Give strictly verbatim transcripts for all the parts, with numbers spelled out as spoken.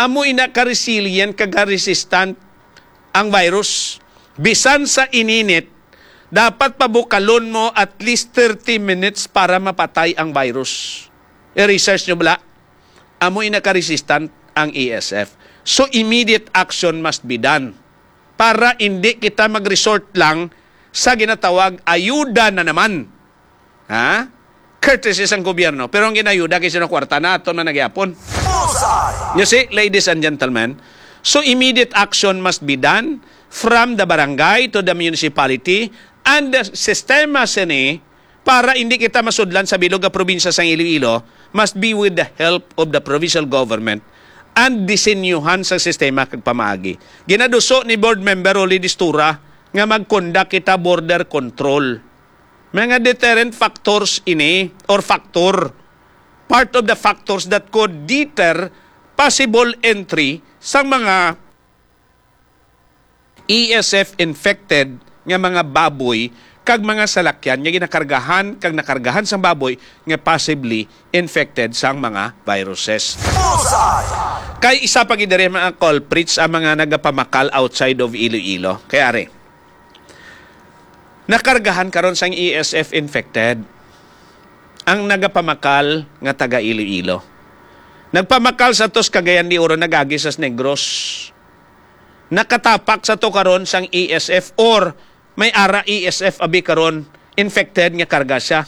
Amo ina ka resilient kag ka resistant ang virus. Bisan sa ininit, dapat pabukalon mo at least thirty minutes para mapatay ang virus. I-research nyo bala? Amo ina ka resistant ang E S F. So, immediate action must be done para hindi kita mag-resort lang sa ginatawag ayuda na naman. Ha? Courtesy sang gobyerno. Pero ang ginayuda kay sino, kwarta na aton man nagyapon. Bullseye! You see, ladies and gentlemen, so immediate action must be done from the barangay to the municipality and the sistema sini para hindi kita masudlan sa bilog nga probinsya sang Iloilo must be with the help of the provincial government and disenyuhan sa sistema kag pamaagi. Ginaduso ni Board Member Rolly Distura nga mag-conduct kita border control. Mga deterrent factors ini or factor. Part of the factors that could deter possible entry sang mga E S F infected nga mga baboy kag mga salakyan nga ginakargahan kag nakargahan sang baboy nga possibly infected sang mga viruses. Bullseye! Kay isa pa gid diri mga culprits ang mga nagapamakal outside of Iloilo. Kay ari, nakargahan karon sang E S F infected ang nagapamakal nga taga Iloilo. Nagpamakal sa tos Cagayan de Oro, nagagi sa Negros. Nakatapak sa to karon sang E S F or may ara E S F abi karon infected nga karga siya.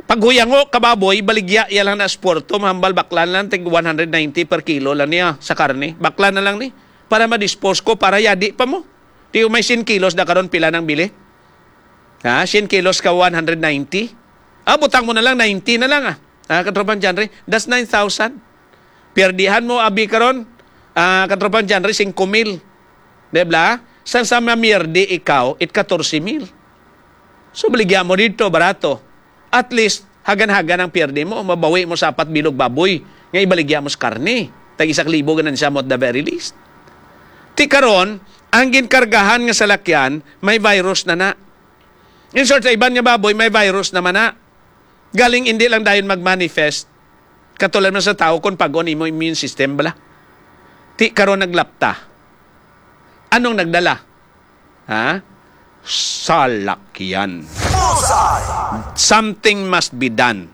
Paghuyango ka baboy, baligya iya lang na sa puerto, mahambal baklan lang, tig one hundred ninety per kilo lang niya sa karne. Baklan na lang ni, para ma-dispose ko, para yadi pa mo. Di may cien kilos na karon, pila nang bili? Ha, cien kilos ka one hundred ninety? Ah, butang mo na lang, ninety na lang, ah. Ah, Katropang John Ray, that's nine thousand. Pirdihan mo, abi karon, ah, Katropang John Ray, singko mil. Di ba? Sang sa mamiyerdi ikaw, it katorse mil. So, baligya mo dito, barato. At least, hagan-hagan ang pierde mo, mabawi mo sa apat bilog baboy nga ibaligya mo sa karne. Tag isa ka libo ganansya mo at the very least. Ti karon, ang ginkargahan nga salakyan, may virus na na. In short, sa iban nga baboy, may virus naman na. Galing hindi lang dayon mag-manifest. Katulad man sa tao kung pag-on imo immune system bala. Ti karon naglapta. Anong nagdala? Ha? Salakyan. Bullseye! Something must be done.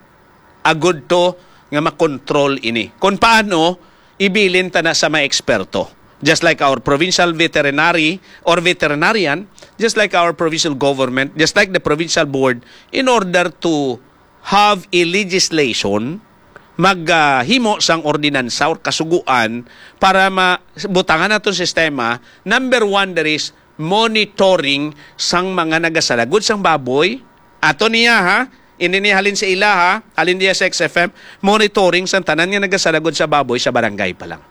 Agud to nga makontrol ini. Kung paano, ibilin ta na sa mga eksperto. Just like our provincial veterinary or veterinarian, just like our provincial government, just like the provincial board, in order to have a legislation, maghimo sang ordinansa or kasuguan para mabutangan naton sistema. Number one, there is monitoring sang mga nagasalagod sang baboy. Ato niya, ha? Hindi niya halin sa ila, ha? Halin niya sa X F M. Monitoring sang tanan nga nagasalagod sa baboy sa barangay pa lang.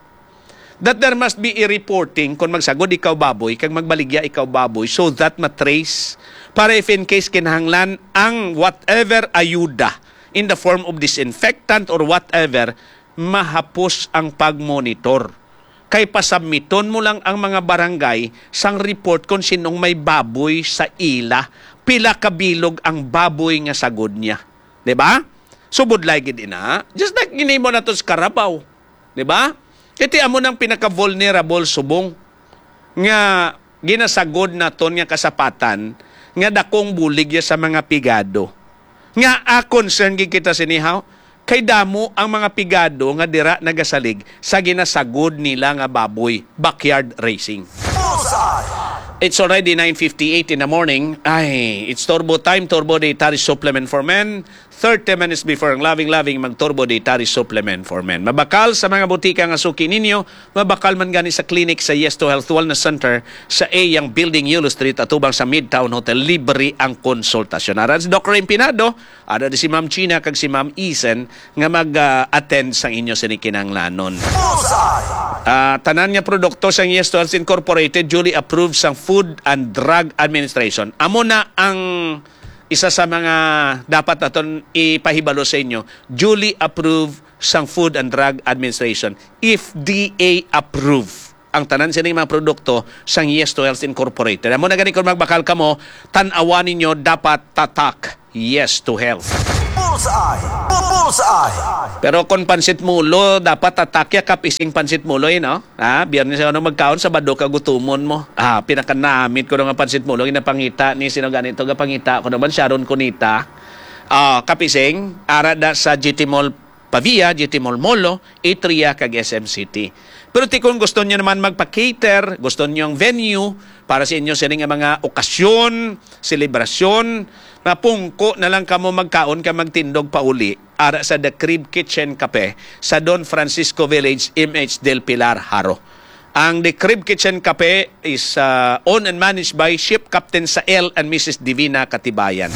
That there must be a reporting kung magsagod ikaw baboy kag magbaligya ikaw baboy, so that matrace, para if in case kinahanglan ang whatever ayuda in the form of disinfectant or whatever, mahapos ang pagmonitor. Kay pasabmiton mo lang ang mga barangay sang report kung sinong may baboy sa ila, pila ka bilog ang baboy nga sagod niya. Di ba? So, budlay gid ina. Just like ginimo nato sa Carabao. Di ba? Iti amo nang pinaka-vulnerable subong nga ginasagod naton nga kasapatan nga dakong bulig ya sa mga pigado. Nga, ah, concern gid kita sini, haw? Kay damo ang mga pigado nga dira nagasalig sa ginasagod nila nga baboy, backyard raising. Bullseye! It's already nine fifty-eight in the morning. Ay, it's Turbo Time, Turbo Dietary Supplement for Men. Thirty minutes before ang loving-loving, mag Turbo Dietary Supplement for Men. Mabakal sa mga butika nga suki ninyo, mabakal man gani sa clinic sa Yes to Health Wellness Center sa A Yang Building, Yulo Street, atubang sa Midtown Hotel. Libre ang konsultasyon. Aran si Doc Raymond Pinado, ada di si Ma'am Gina kag si Ma'am Isen nga mag-attend sang inyo sini kinahanglanon. Bullseye! Ah, tanan nga produkto sang Yes to Health Incorporated, duly approved sang Food and Drug Administration. Amo na ang isa sa mga dapat naton ipahibalo sa inyo, duly approved sang Food and Drug Administration, F D A approved ang tanan sining mga produkto sang Yes to Health Incorporated. Amo na gani, kung magbakal kamo, tan-awan ninyo, dapat tatak Yes to Health. Bullseye! Bullseye! Pero kung pansit mulo, dapat atakya ka pising pansit mulo, eh, no? Ha? Biyernes ano magkaon, Sabado ka gutumon mo. Ah, pinakanamit ko nga pansit mulo, ginapangita ni sino ganito, gapangita ko naman, Sharon Cunita. Ah, kapising, ara da sa G T Mall Pavia, G T Mall Molo, Atria, kag S M City. Pero ti kung gusto nyo naman magpa-cater, gusto nyo ang venue para sa inyo sini nga mga okasyon, selebrasyon, mapungko na lang kamo magkaon ka magtindog pauli ara sa The Crib Kitchen Cafe sa Don Francisco Village, M H Del Pilar, Jaro. Ang The Crib Kitchen Cafe is uh, owned and managed by Ship Captain Sael and Missus Divina Katibayan.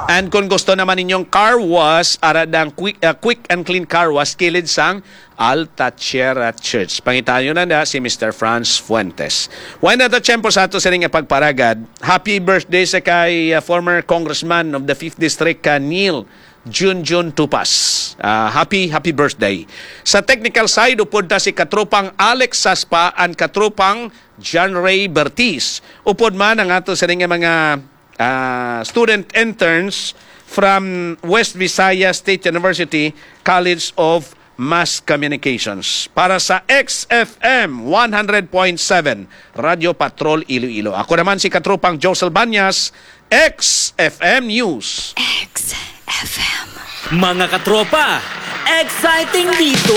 And kung gusto naman ninyong car wash, ara dang quick, uh, quick and clean car wash kilid sang Alta Sierra Church. Pangitayo na na si Mister Franz Fuentes. Wala na to tiyempo sa ato sining pagparagad. Happy birthday sa kay uh, former congressman of the fifth District, uh, Neil Junjun Tupas. Ah, happy, happy birthday. Sa technical side, upod ta si katropang Alex Saspa and katropang John Ray Bertiz. Upod man ang ato sa nga mga ah, student interns from West Visayas State University College of Mass Communications. Para sa X F M one hundred point seven, Radyo Patrol Iloilo. Ako naman si katropang Josel Banyas, X F M News. X F M. Mga katropa, exciting dito!